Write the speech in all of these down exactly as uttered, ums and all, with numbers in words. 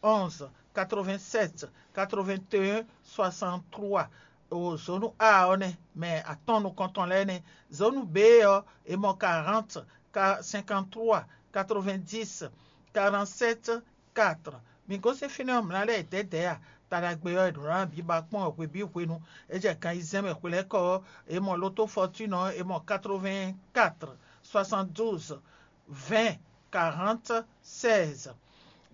onze, quatre-vingt-sept, quatre-vingt-un, soixante-trois. O zonu A ɔ́ nɛ́, mɛ atɔn nukɔntɔn lɛ́ɛ nɛ́. Zonu B ɔ́, è mɔ quarante, cinquante-trois, quatre-vingt-dix, quarante-sept, quatre. Mi gosín fínɛ́ ɔ́, mlǎ lɛ́ɛ dɛ̌dɛ̌ a? Taɖagbe ɔ́, è ɖǒ ná bǐ ba kpɔ́n hwebǐ hwenu. É jɛ gan ayizɛ́n mɛ hwelɛ́kɔ ɔ́, è mɔ loto fɔtúnɔ ɔ́, è mɔ quatre-vingt-quatre, soixante-douze, vingt, quarante, seize.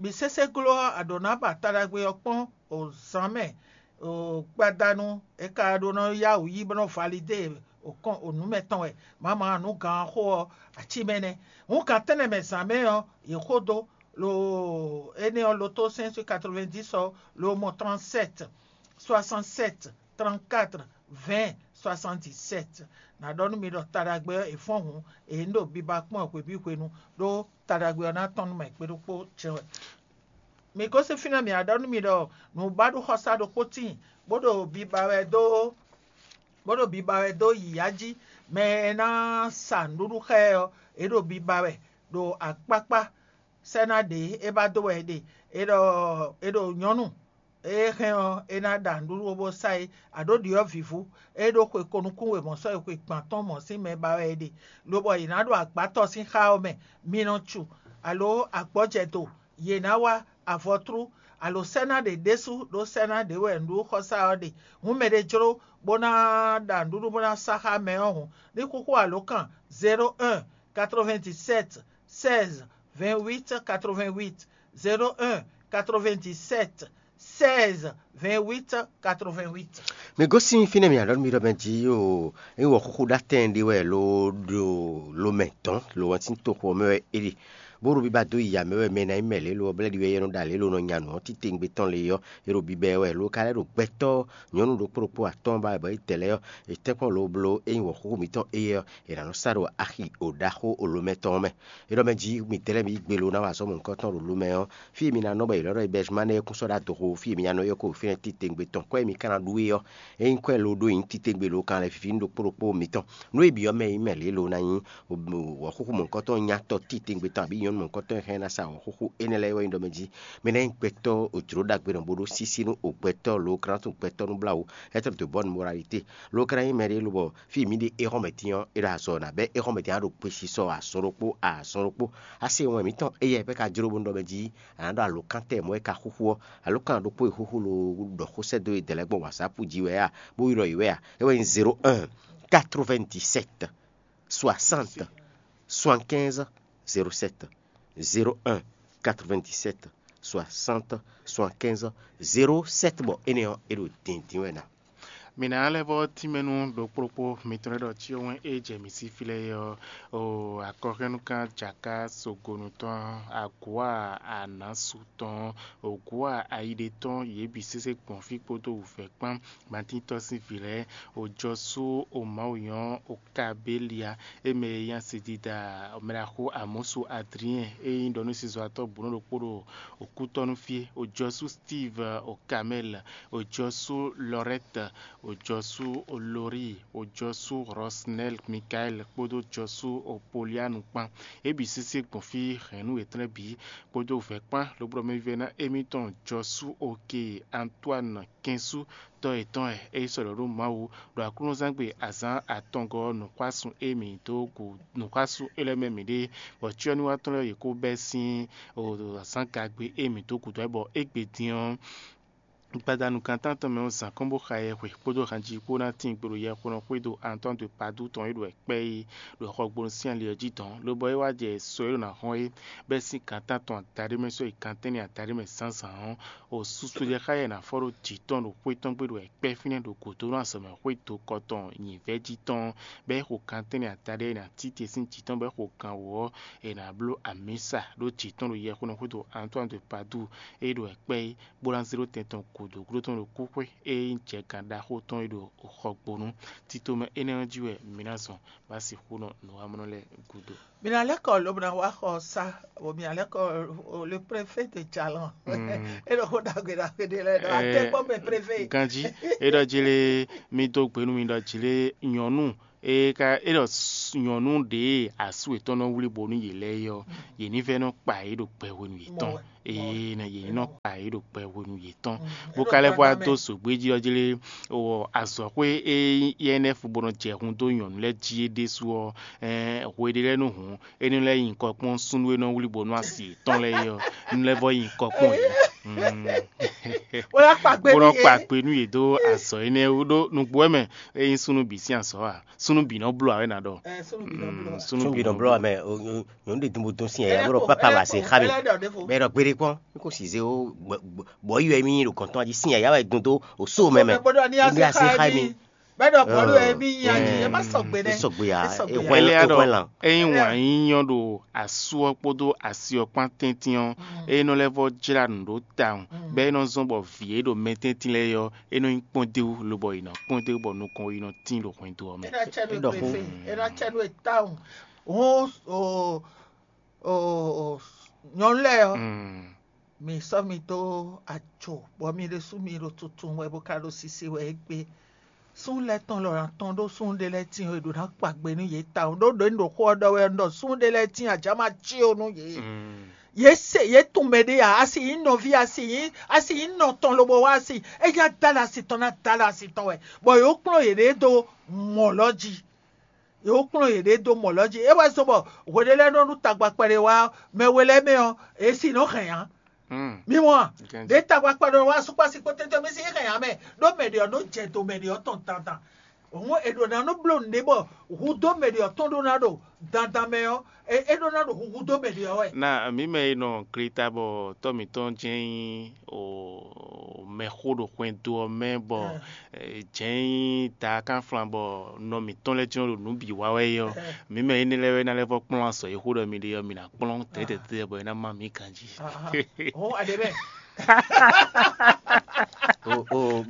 Bǐ sésé gló ɔ́, a ɖǒ ná ba taɖagbe ɔ́ kpɔ́n o zǎn mɛ, o gbadanu e ka ɖó nɔ yá wǔ yí bó nɔ validé o kɔn o nǔ mɛtɔn wɛ. Mama nǔ gǎn xó ɔ́, ací mɛ nɛ́. Hǔn gǎn tɛ́nnɛ mɛ zǎn mɛ ɔ́, yě xó dó lo énɛ́ ɔ́, loto cinq cent quatre-vingt-dix ɔ́, lo mɔ trente-sept, soixante-sept, trente-quatre, vingt, soixante-dix-sept. Ná ɖɔ nú mi ɖɔ taɖagbe ɔ́, è fɔ́n hǔn, è ní ɖo biba kpɔ́n hwebǐ hwenu, ɖó taɖagbe ɔ́ ná tɔ́n nú mɛ kpé ɖokpó jɛ́n wɛ. Mi gosín fínɛ́, mǐ wá ɖɔ nú mi ɖɔ nǔbaɖuxɔsá ɖokpó tíin, bó ɖo biba wɛ dó bó ɖo biba wɛ dó yǐyá jí. Mɛ e ná sa nǔɖuɖu xá ɛ ɔ́, é ɖo biba wɛ ɖo akpákpá sɛ́ ná ɖě é ba dó wɛ é ɖe. É ɖɔ é ɖo nyɔ̌nu e hɛn ɔ́, é ná ɖa nǔɖuɖu bó sá é. Aɖǒ ɖyɔ̌vǐvú, é ɖó xwe ko nukún wěmɔ sɔ́ yi xwe gban tɔn mɔ̌ sín mɛ ba wɛ é ɖe, lobɔ yě ná ɖo agbátɔ́ sín xá ɔ́ mɛ. Mi nɔ cu, alo agbɔ́jɛdo, yě ná wá avɔtrú, alo sɛ́ ná ɖě ɖésú, ɖó sɛ́ ná ɖě wɛ nǔɖuɖuxɔsá ɔ́ ɖe. Hǔn mɛɖé jló bó ná ɖa nǔɖuɖu bó ná sá xá mɛ ɔ́ hǔn, ní xúxú alǒkan zéro un, quatre-vingt-dix-sept, seize, vingt-huit, quatre-vingt-huit, zéro un, quatre-vingt-dix-sept, seize, vingt-huit, quatre-vingt-huit. Mi gosín fínɛ́ mǐ aɖɔ̌ mi ɖɔ mɛ jí o, é wɔ xúxú ɖó atɛn ɖé wɛ lo ɖo lo mɛ dɔn lo wɛn sín toxo ɔ́ mɛ wɛ é ɖe. Bó ɖo biba dó yi amɛ wɛ mɛ ná nyí mɛ lě lo ɔ́, blɛ́ ɖi wɛ yɛ nɔ ɖo alě lo nɔ nya nǔ ɔ́ titewungbe tɔn lě ɔ́, é ɖo bibɛ wɛ lo ka lɛ́ ɖo gbɛtɔ́ nyɔ̌nu ɖokpó ɖokpó atɔ́ɔ́n ba wɛ bɔ é dɛ lɛ́ɛ ɔ́, è tɛ́nkpɔ́n lo bló ényí wɔ̌xúxú mǐtɔn éyɛ́ ɔ́, è nǎ nɔ sá ɖo axi o ɖaxó o lo mɛ tɔn ɔ́ mɛ. É ɖɔ mɛ jí midɛɛ lɛ́ɛ mi yí gbe lo ná wa azɔ̌ mɔ̌hunkɔtɔn ɖo lo mɛ ɔ́, fí e mi ná nɔ bɔ è lɛ̌ ɖɔ Bɛzimánɛ é kún sɔ́ ɖó adɔxo, fí e mi ná nɔ ɔ́ kó fínɛ́ titewungbe tɔn. Kwɛ́ e mi ka ná ɖu é ɔ́, ényí kwɛ́ lo ɖó nyí titewungbe lo kan lɛ́ fífí nú ɖokpó ɖokpó mitɔn. Nǔ e bǐ ɔ́ mɛ nyí mɛ lě lo ná nyí wɔ̌xúxú mɔ̌hunkɔtɔn nyatɔ titewungbe tɔn abǐ nyɔ̌nu mɔ̌hunkɔtɔn e hɛn ná sa wɔ̌xúxú énɛ́ lɛ́ɛ é wɛ nyí ɖɔ mɛ jí mɛ ná nyí gbɛtɔ́ òjló ɖagbe nɔ bó ɖó sísí nú ògbɛtɔ́ lo krántu gbɛtɔ́ nú blá wú, être de bonne moralité. Lo ka ná nyí mɛ ɖé lobɔ fí e mǐ ɖe éhɔ́nmɛtín ɔ́, é ɖo azɔ̌ ná bɛ́ éhɔ́nmɛtín á ɖo kpesisɔ azɔn ɖokpó azɔn ɖokpó. Asi wɛn mǐtɔn éyɛ́ pɛ́ ka jló bónú ɖɔ mɛ jí a nǎ ɖɔ alǒkántɛ́ mɔ̌ e ka xúxú ɔ́, alǒkan ɖokpó e xúxú lo ɖɔ xó sɛ́ dó e dɛ̌ lɛ́ɛ gbɔn wǎnsápu jí wɛ a, bó ylɔ́ yě wɛ a, é wɛ nyí zéro un, quatre-vingt-dix-sept, soixante, soixante-quinze, zéro sept, zéro un, quatre-vingt-dix-sept, soixante, soixante-quinze, zéro sept, bɔ énɛ́ ɔ́, é ɖo dǐndín wɛ ná. Mǐ ná lɛ́ vɔ́ tínmɛ nú ɖokpóɖokpó mitɔn lɛ́ɛ ɖɔ cyɔ́nwɛn e jɛ mǐ sí fí lɛ́ɛ é ɔ́, o akɔhɛnnukán jaka sogonu tɔn, agǔa anasu tɔn, ògǔa ayiɖe tɔn, yě bǐ sésé gbɔn fí kpódó wǔvɛ́ kpán. Matín tɔ́ sín vǐ lɛ́ɛ, òjɔsú o Mawu nyɔ́ o Kabélia, é mɛ e nyí asidida mɛɖaxó Amɔ́su Adriɛn e nyí ɖɔnúsizɔ́watɔ́ bǔnɔ ɖokpó ɖo òkútɔ́nú fí, òjɔsú Steve o Kamɛl, òjɔsú Lɔrɛt, òjɔsú Lori, òjɔsú Rɔsnɛl Mikaɛl kpódó òjɔsú Polianu kpán. É bǐ sésé gbɔn fí hɛ̌nnu yětɔn lɛ́ɛ bǐ kpódó vɛ̌ kpán, lobo ɖɔ mɛ vívɛ́ná émítɔn jɔsú oke Antoine kɛnsú tɔ́ yětɔn wɛ é sɔ́ ɖɔ ɖó Mawu ɖo aklúnɔzángbe azǎn atɔngɔ́ ɔ́ nǔxwásún e mǐ dó gu nǔxwásún é lɛ́ɛ mɛ mǐ ɖe, bɔ cyɔ́núwatɔ́ lɛ́ɛ yě kó bɛ́ sín azǎngagbe e mǐ dó gǔdo wɛ bɔ égbé din ɔ́, gbadanu gǎntántɔn mɛ ɔ́ zǎn kɔn bó xa yɛhwe kpódó hanjí kpó ná tín gbe ɖo yɛxwénɔ xwédo Antoine de Padoue tɔn e ɖo wɛ kpɛ́ é ɖo xɔgbónu sín ali ɔ́ jí dɔn, lobɔ é wá jɛ sɔ e ɖo ná hɔn é bɛ́ sín gǎntántɔn adaɖé mɛ sɔ́ yi gǎntɛ́nɛ adaɖé mɛ zǎnzǎn ɔ́, o susu jɛ xá yɛ ná fɔ ɖó jǐ tɔn ɖo xwé tɔn gbe ɖo wɛ kpɛ́ fínɛ́ ɖo gǒdónú azɔ̌mɛxwé dokɔ tɔn nyǐvɛ́ jí tɔn, bɔ é xo gǎntɛ́nɛ adaɖé e ná títí sín jǐ tɔn bɔ é xo gan wǒ ɔ́, è nǎ bló amǐsa ɖó jǐ tɔn ɖo yɛxwénɔ xwédo Antoine de Padoue e ɖo wɛ kpɛ́ é, bó ná zé ɖó tɛn tɔn gǔdo gúdo tɔn ɖo kúxwé e nyí jɛgán ɖaxó tɔn e ɖo xɔgbónu. Tito mɛ énɛ́ ɔ́ jí wɛ mǐ ná zɔn bó ná sixú nɔ nǔwamɔnɔ lɛ́ɛ gúdo. Mi ná lɛ́ kɔ lobo ná wá xɔ sá, bɔ mi ná lɛ́ kɔ o le préfet de Jalɔn. É ɖo xó ɖagbe ɖagbe ɖé lɛ́ɛ ɖɔ atɛ́kpɔ́ mɛ préfet. Ganjí, é ɖɔ jí lé mí dó gbe nú mi ɖɔ jí lé nyɔ̌nu é ka é ɖɔ nyɔ̌nu ɖě asú yětɔn nɔ wlí bo nú yě lɛ́ɛ é ɔ́, yě ní vɛ́ nɔ kpa yě ɖo gbɛ hwenu yětɔn. Ée nɔ yě ní nɔ kpa yě ɖo kpɛ hwenu yětɔn, bó ka lɛ́ vɔ wá dó zǒgbé jí ɔ́ jlé, azɔ̌xwé e nyí I N F bó nɔ jɛ hun dó nyɔ̌nu lɛ́ɛ jí é ɖésú ɔ́, hwe ɖé lɛ́ɛ nú hǔn é nɔ lɛ́ nyi kɔ kpɔ́n súnnu e nɔ wlí bó nú asi yětɔn lɛ́ɛ é ɔ́, é nɔ lɛ́ vɔ nyi kɔ kpɔ́n yě. Bó ná kpa gbe bó nɔ nú yě. Kpa gbe nú yě dó azɔ̌ énɛ́ wú ɖó nǔgbó wɛ mɛ. É nyí súnnu bǐ sín azɔ̌ ǎ. Súnnu bǐ nɔ bló ǎ wɛ ná ɖɔ. Ɛ, súnnu bǐ nɔ bló. Mm, súnnu Súnnu bǐ nɔ bló ǎ mɛ. Nyɔ̌nu ɖe dun bó dɔn sín yɛ, bó ɖɔ pápá wá se xá mi. Bɛ́ ɖɔ gbére kpɔ́n, ní kò sì zé ó, bɔ yɔ émí ɖo gɔ̌n tɔn jí sín yɛ, yá wɛ dun dó o só mɛ mɛ. Bó ɖɔ ní Ní a se xá émí. Bɛ́ ɖɔ bɔ̌lu émí nyi ayi, é má sɔgbe nɛ́. É sɔgbe ǎ, é hwɛ́n Énɛ́ é ɖɔ, hwɛ́n lan. É nyí wǎn nyínyɔ́ ɖo asú ɔ́ kpódó asi ɔ́ kpán tɛ́ntin ɔ́, é nɔ lɛ́ vɔ jlá nǔ ɖó tawun, bɔ é nɔ zɔ́n bɔ vǐ e ɖo mɛ tɛ́ntin lɛ́ɛ ɔ́, é nɔ nyí kpɔ́ndéwú, lobɔ è nɔ kpɔ́ndéwú bɔ nukɔn yi nɔ tín ɖo hwɛndo ɔ́ mɛ. É ná cɛ nú É ɖɔ xó. Fífí, é ná cɛ nú e tawun. Hǔn o, o, o, nyɔ̌nu lɛ́ɛ ɔ́, Mm. mi sɔ́ mi dó ajo, bɔ mi ɖésú mi ɖo tuntun wɛ bó ka ɖo sisi wɛ égbé. Súnnu lɛ́ɛ tɔn lɔ ná tɔn ɖó súnnu ɖé lɛ́ɛ tíin e ɖo ná kpa gbe nú yě tawun. Ɖó ɖě un ɖo xó ɔ́ ɖɔ wɛ un ɖɔ súnnu ɖé lɛ́ɛ tíin ajǎ ma cí ó nú yě. Mm. Yě se yě tunwun mɛ ɖé ǎ, a si nyí nɔví, a si nyí a si nyí nɔ tɔn lobo wá a si, é nya dó alɔ asi tɔn ná dó alɔ asi tɔn wɛ, bɔ yě kplɔ́n yěɖée dó mɔ̌ lɔ jí. Yě kplɔ́n yěɖée dó mɔ̌ lɔ jí. É wɛ zɔ́n bɔ hwe ɖé lɛ́ɛ nɔ nú tagba kpɛɖé wá mɛ we lɛ́ɛ mɛ ɔ́, yě si nɔ hɛn ǎ. Mm. Mi mɔ a? Gɛnji. Ɖě tagba kpɛɖé wá sukpási kpó tɛ́ntɛ́n mi si hɛn ǎ mɛ, ɖó mɛ ɖě ɔ́ nɔ jɛ do mɛ ɖě ɔ́ tɔn dandan. Hǔn è ɖǒ ná nɔ bló nǔɖé bɔ hudó mɛ ɖě ɔ́ tɔn ɖó ná ɖo dandan mɛ ɔ́, é é ɖó ná ɖo huhu dó mɛ ɖě ɔ́ wɛ. Na mǐ mɛ e nɔ Kreta bɔ tɔ́ mǐtɔn jɛ́n nyí o mɛxó ɖo xwɛndo ɔ́ mɛ bɔ Ɛ. Jɛ̌n nyí ta kánflan bɔ nɔ mǐtɔn lɛ́ɛ jlɔ́n ɖo nǔ bǐ wa wɛ é ɔ́, Ɛ. Mǐ mɛ énɛ́ lɛ́ɛ wɛ ná lɛ́ vɔ kplɔ́n azɔ̌ e xó ɖɔ mi ɖe ɔ́, mi ná kplɔ́n tɛ̌tɛ̌tɛ́ bɔ é ná má mǐ ganjí. Hɔn aɖe bɛ. O o o.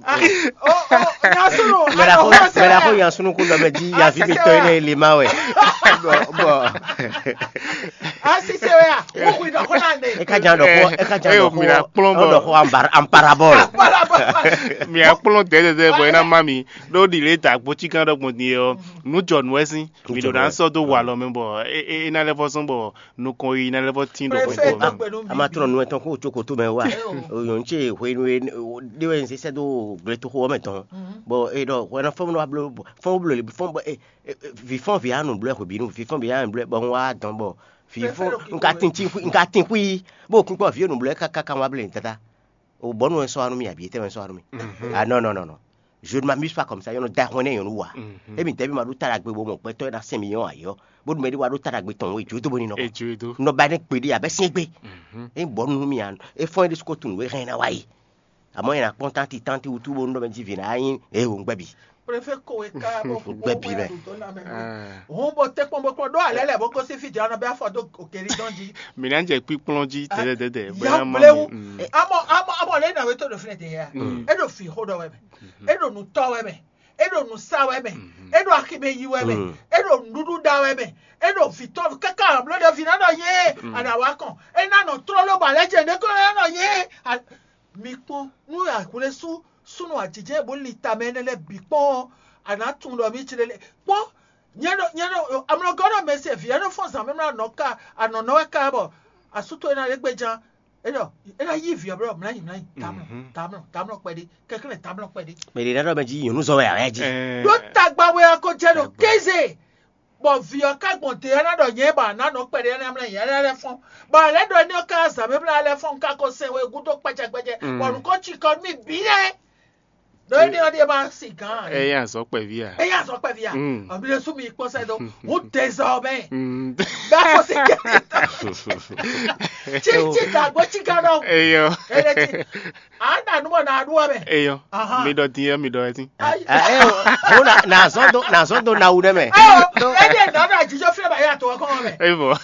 Nyasunu. Mɛɖaxo mɛɖaxo Yansunu kún ɖɔ mɛ jí yaví mitɔn énɛ́ lé ma wɛ. Bɔ bɔ. Asise wɛ a? Wokui ɖɔ xɔ na ne. E ka jan ɖɔ xɔ e ka jan Ɛ, ɖɔ mi ná kplɔ́n xɔ bɔ- ɖɔ xɔ ambar- amparabɔl. Mǐ á kplɔ́n dɛ̌dɛ̌dɛ̌ bɔ é ná má mi ɖó ɖi lě da gbócígán ɖɔgbɔn din ɔ́, nǔ jɔ nǔ wɛ sín. Mǐ ɖo ná sɔ́ dó walɔ mɛ bɔ é é ná lɛ́ vɔ zɔ́n bɔ nukɔn yi ná lɛ́ vɔ tín ɖo Préfet xwé. Dɔgbe nú mi. A ma tlɔ́n nú ɛ tɔn kó tso kotó mɛ wá. Nyɔ̌nu ce hwenu e ɖé wɛ un sɛ dó gletoxo ɔ́ mɛ tɔn, bɔ é ɖɔ hwɛ ná fɔ́n nú wa bló fɔ́n bló fɔ́n bɔ vǐ fɔ́n vǐ anu bló hwebǐnu vǐ fɔ́n vǐ anu bló bɔ un wá dɔn bɔ vǐ fɔ́n un ka tin tí un ka tin xwí bó kún kpɔ vǐ enu bló káká kan wá blé tata. O bɔnu wɛ sɔ́ wá nú mì abǐ etɛ́ wɛ sɔ́ wá nú mì? Ah non non non non. Je ne m'amuse pas comme ça, yɔnɔ da hɔn ne yɔnu wa. Emi dɛbi ma ɖo ta ɖagbe bo mɔ gbɛtɔ na sɛn mi yɔn ayɔ. Bo ɖu mɛ ɖi wa ɖo ta ɖagbe tɔn wo edzo do bo ni nɔ. Edzo do. Nɔ ba ne gbe ɖi abɛ sɛn gbe. E bɔ nu mi an e fɔn ɖi suko tun we hɛn na wa yi. Amɔ yɛn na kpɔn tanti tanti wutu bo nɔ mɛ ji vi na yin e wo ngbɛ bi. Préfet ko e ka bo Ngbɛ bi mɛ. Hɔn bo te kpɔn bo kpɔn ɖo alɛ lɛ bo ko si fi dza nɔ bɛ afɔ do okeri dɔn ji. Mi na jɛ kpikplɔn ji tɛtɛtɛtɛ. Ya blewu. Amɔ amɔ amɔ le na we to do fine de ya. E do fi ho dɔ wɛ mɛ. E ɖo nǔtɔ́ wɛ mɛ, e ɖo nǔ sa wɛ mɛ, e ɖo aximɛ yi wɛ mɛ, e ɖo nǔɖuɖu ɖa wɛ mɛ, e ɖo vǐtɔ́ káká bló ɖe vǐ ná nɔ yé aɖawá kɔn, e ná nɔ trɔ́ ló ba lɛ́ jɛ ɖě kó ná nɔ yé. Mi kpɔ́n nú ahwlɛ́sú súnnu ajijɛ bó li tamɛ énɛ́ lɛ́ɛ bǐ kpɔ́n ɔ́, a nǎ tunwun ɖɔ mǐ jlé lé kpɔ́n. Nyɛ ɖo nyɛ ɖo amlɔgɔ́ ɖo mɛ se vǐ ɛ nɔ fɔ́n zǎn mɛ mlá nɔ ká anɔ̌nɔ wɛ ká bɔ asú towe ná ɖe gbéján. É ɖɔ é ná yí vǐ ɔ́ blɔ́ mlǎnyi mlǎnyi tamlɔ tamlɔ tamlɔ kpɛɖé kɛnklɛ́n tamlɔ kpɛɖé. Mɛ ɖě ná ɖɔ mɛ jí nyɔ̌nu zɔ wɛ awɛ jí. Ɖó tagba wɛ ɔ́ ko jɛ ɖo kéze, bɔ vǐ ɔ́ ka gbɔn te ɔ́ ná ɖɔ nyɛ ba ná nɔ kpɛɖé ɔ́ ná mlá nyɛ lɛ́ fɔ́n, bɔ a lɛ́ ɖɔ énɛ́ ɔ́ ka zǎn mɛ mlá lɛ́ fɔ́n un ka ko sɛn we gúdo kpɛjɛkpɛjɛ, bɔ nǔ ko cikɔ nú mì bǐ lɛ́ɛ. Ɖó énɛ́ ɔ́ ɖíe ma sin gǎn ǎ. Ɛ yá azɔ̌ kpɛví a? Ɛ yá azɔ̌ kpɛví a? Ɔmí ɖésú mi kpɔ́n sɛ́ dó. Hǔn dézɔmɛ. Bɛ́ fɔ sí kɛ́. Tí tí dàgbó tí gán náà. Eyɔ. Ele tí. A nà nú bɔ nà ɖu ɔmɛ. Eyɔ. Mi ɖɔ din yɛ mi ɖɔ yɛ tí. Ó nà zɔ́n dó nà zɔ́n dó na wu ɖɛ mɛ. Ɛyɔ, ɛyɛ nɔ nɔ àjíjọ́ fílẹ̀ bá yà tó ọkọ mɛ. Eyɔ.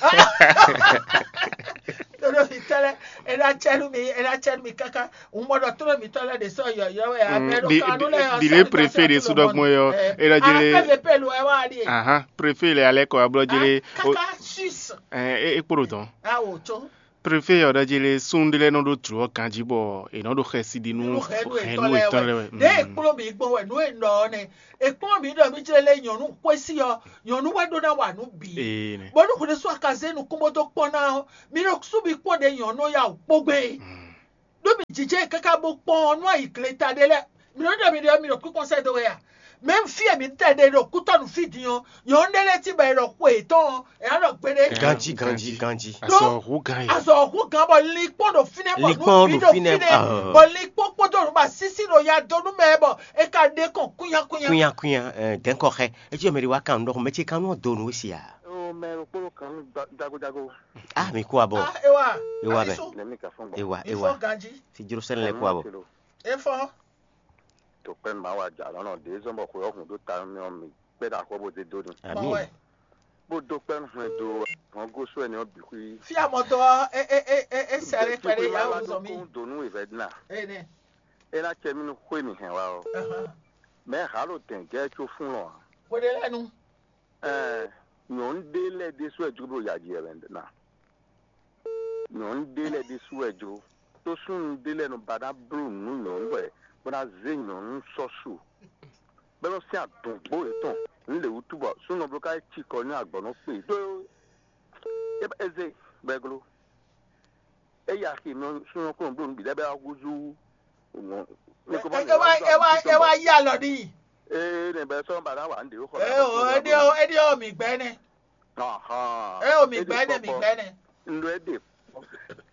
Tolómi tẹ́lẹ̀, ẹ ná tsɛ́nú mi, ẹ ná tsɛ́nú mi káká. Un mɔ ɖɔ tolómi tɔ́ lɛ́ ɖě sɔ́ yɔ̌yɔ́ wɛ, amɛ ɖo Di- kanu di- lɛ ɔ́, Dile sɔ́ mi préfet tɔ́ ɖe tɔ́ sudɔ lɔmɔ gbɔn yɔ, yɔ. E ɖɔ jele. Préfet pelu ɛ wá ɖi. Ahan, préfet le alɛ kɔ ablɔ jele. Kaka sus. Ɛ e kpo ɖo dɔn. Awo tso. Préfet yɔ ɖɔ jele sun ɖe lɛ nɔ ɖo dro ɔ ganji bɔ e nɔ ɖo xɛsi ɖi nu Nínú hɛnu hɛnu etɔ́ lɛ etɔ́ wɛ. Lɛ wɛ. Ɖe ekplɔ mi gbɔn wɛ nu e nɔ ɔ́ nɛ. Ekplɔ mi ɖɔ mi jle lɛ nyɔnu xwesi ɔ, nyɔnu wɛ ɖo na wa nu bi. Ee nɛ. Bɔnu xwle su akaze nukun bó dó kpɔn ná ɔ, mi ɖo su bi kpɔn ɖe nyɔnu ya o kpogbe. Mm. Ɖó mi jijɛ káká bó kpɔ́n nú ayi gleta ɖé lɛ́ɛ. Mi nɔ ɖɔ mi ɖɔ mi ɖo kúkɔn sɛ́ dó wɛ a? Mɛ fí e mi tɛ ɖe ɖo kútɔ́ nú fí din ɔ́, nyɔ̌nu ɖé lɛ́ɛ tín bɔ è ɖɔ xwe yětɔn ɔ́, è nǎ ɖɔ gbeɖé. Ganji, ganji, ganji. Azɔ hu gan yi. Azɔ hu gan bɔ linkpɔn ɖo fínɛ́ bɔ Linkpɔn ɖo fínɛ́, ah. Bɔ linkpɔn kpódó nǔ ba sísí ɖo ya dó nú mɛ bɔ è ka ɖe kɔn kúnya kúnya. Kúnya kúnya, eh, dɛ̌nkɔ xɛ. Etsí mɛ ɖi wá kan nǔ ɖɔxɔ mɛ ce kan nú do nǔ si a. Ó mɛ ɖokpó kan nú dagodago. Ah, mi kú abɔ. Ah, ewa. Ewa bɛ. Nɛmi ka fɔn gbɔ. Ewa, ewa. Ifɔ ganji. Si jro sɛnɛ lɛ kú abɔ. Efɔ. To kpɛn ma wa ja lɔnà ɖe zɔn bɔ xwe ɔhun ɖo ta mi ɔ mi kpɛ ɖe axɔ bo de do ni. Amin. Bó dó kpɛn hwɛn do hɔn gosu ɛni ɔ bǐ xwí. Fia mɔtɔ e e e e e sɛrɛ kpɛɖe ya wuzɔ mi. Kó donu ìfɛ dina. Ene. Ena cɛ mi nu xwe mi hɛn wa ɔ. Mɛ ha lo dɛn gɛ tso fún lɔ. Xwe ɖe lɛ nu. Ɛɛ, nyɔnu ɖé lɛ́ɛ ɖésú wɛ jló ɖo yaji wɛ na. Nyɔnu ɖé lɛ́ɛ ɖésú wɛ jló. Tó súnnu ɖé lɛ́ɛ nɔ ba ná bló nǔ nyɔ̌nu wɛ bó ná zé nyɔ̌nu sɔ́ su. Bɔ é nɔ sín adɔ̌ngbó yětɔn nǔ lě wútu bɔ súnnu bló ká yi cikɔ ní agbɔ̌ nɔ kpe dó. É zé bɔ é gló. É yi axi nɔ súnnu kó nɔ bló nǔ bǐ lɛ́ɛ bɔ é wá húzú. Nɔ- ní kó má lè wá húzú é wá é wá yí alɔ n'i. Ee, nɛ bɛ sɔ́ ba ná wà ń ɖe ó xɔ. Ɛ o, é ɖi ó, é ɖi ó, mi gbɛ nɛ. Ahán. Ɛ o, mi gbɛ nɛ, mi gbɛ nɛ. Ndo é ɖe.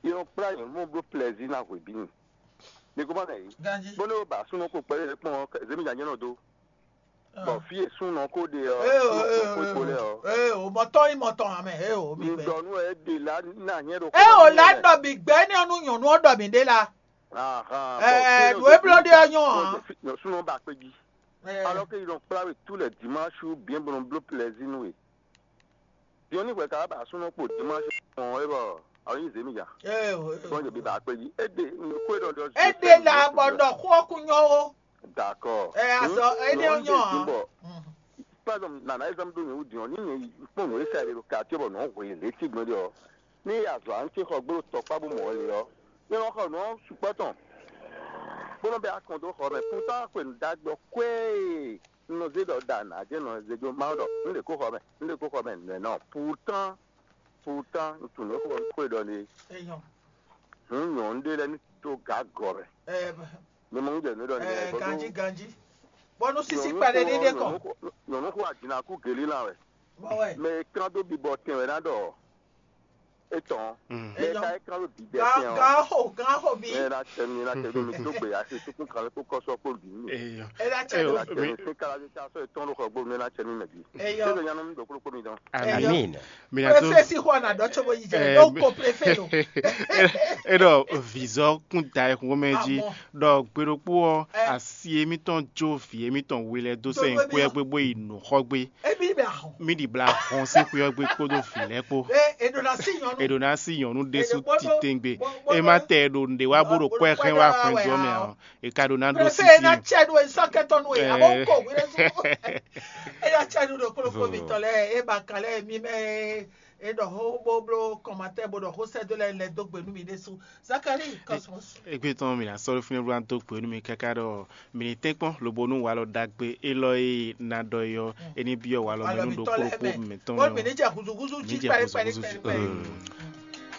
Yɔ kpla yɔ mɔ bló plɛzi na hwe bí mi. Ní kó má lè yí. Ganji. Bó ní ó ba súnnu kó kpɛlɛ kpɔn zémi nya nyɛ nɔ dó. Bɔ fí e súnnu kó ɖe ɔ. Ee o, ee o, ee o, mɔtɔn yi mɔtɔn amɛ, ee o, mi gbɛ. Ŋdɔ nú ɛ ɖe la ná nyɛ ɖo. Ee o, la ɖɔ mi gbɛ ní ɔnu nyɔnu ɔ ɖɔ mi ɖe la. Ahán. Ɛɛ, nǔ e bló ɖe ɔ nyɔ hàn. Súnnu ba kpé jí. Alɔ ke yɔ kpla we tú lɛ dimanche bien bɔ nɔ bló plɛzi nú we. Diɔni hwɛ ka ba súnnu kpo dimanche kpɔn é bɔ awo nyi zemi ya. Ee o, ee o. Bɔn jɛ bi ba kpé jí. É ɖe nukwe ɖɔ ɖɔ. É ɖe la bɔ ɖɔ xó ɔkú nyɔ o. D'accord. Ɛ azɔ é ɖe nyɔ hàn. Par exemple, nana exemple ɖo nyɛ wú diɔn ní nyɛ kpɔn nɔ esa ɖe ɖo quartier bɔ nɔ hwe lě ti gbɔn ɖe ɔ. Ní azɔ à ń tse xɔ gbó tɔkpá bó mɔ lě ɔ. Ní wọ́n xɔ nǔ ɔ́ sukpɔ́ tɔn. Bó nɔ bɛ akɔn dó xɔ mɛ. Pourtant xwe nǔ ɖagbe ɔ́ kwéé. Un nɔ zé ɖɔ ɖa nǎ jɛ nɔ zé jó Mawu ɖɔ un ɖe kó xɔ mɛ, un ɖe kó xɔ mɛ nɛ̌ nɔ. Pourtant, pourtant, un tunwun nǔ e xó ɖɔ ní. Eyɔn. Hǔn nyɔ̌nu ɖé lɛ́ɛ ní tó gǎ gɔ̌ mɛ. Ɛ Mi mɔ un jɛ nǔ ɖɔ ní. Ɛ Ganji, ganji. Bɔnu sisi kpɛɖe ní ɖe kɔ. Nyɔ̌nu xó ajinakú gelí lan wɛ. Bɔ wɛ. Mɛ e kán dó bibɔ tɛn wɛ ná ɖɔ. Etɔn. Mɛ e ka e kán dó bibɔ tɛn ɔ. Gan ho, gan ho bi. Ɛ na tɛ mi na tɛ mi mi dó gbe asi tukun kan kó kɔsɔ kó bi mi. Eyɔ. Ɛ na tɛ Eyɔ, mi. Ɛ na tɛ mi. Eyɔ. Amin. Mina to. Préfet si xɔ na dɔ tso bo yi jɛ. Ɛ, Donc ko préfet lo. E ɖɔ vizɔ kún da e xó mɛ jí. Ɖɔ gbe ɖokpó ɔ asi émítɔn jó vǐ émítɔn we lɛ dó sɛn xwé ɔ́ gbé bó yi nǔ xɔ gbé. Ebi bɛ ahɔn. Mí ɖi bla hɔn sín xwé ɔ́ gbé kpódó vǐ lɛ́ɛ kpó. E e ɖo na si nyɔnu. E ɖo na si nyɔnu ɖésú titengbe. E ma tɛ e ɖo nɖe wá bó ɖo kpɔ́ ɛ xɛn wá xwɛn jɔ mɛ ɔ. E ka ɖo ná ɖó Préfet e na sisi. Tsɛ ɖo e sɔkɛtɔ nu e abo ko wele su. E ya tsɛ ɖo ɖo kplɔkpɔ mi tɔ lɛ e ba kan lɛ mi mɛ. E ɖɔ xó bó bló kɔmatɛ bó ɖɔ xó sɛdó lɛ lɛ dó gbe nú mi ɖésú. Zakari Cosmos. Egbe tɔn mi na sɔ́ ɖó fínɛ́ bló ná dó gbe nú mi káká ɖɔ mi ní tɛ́nkpɔ́n lobo nú walɔ ɖagbe élɔ́ e na ɖɔ é ɔ́, é ní byɔ́ walɔ mɛ nú ɖokpó ɖokpó mɛtɔn. Bó mi ní jɛ huzuhuzu jí pɛ́lí pɛ́lí pɛ́lí pɛ́lí.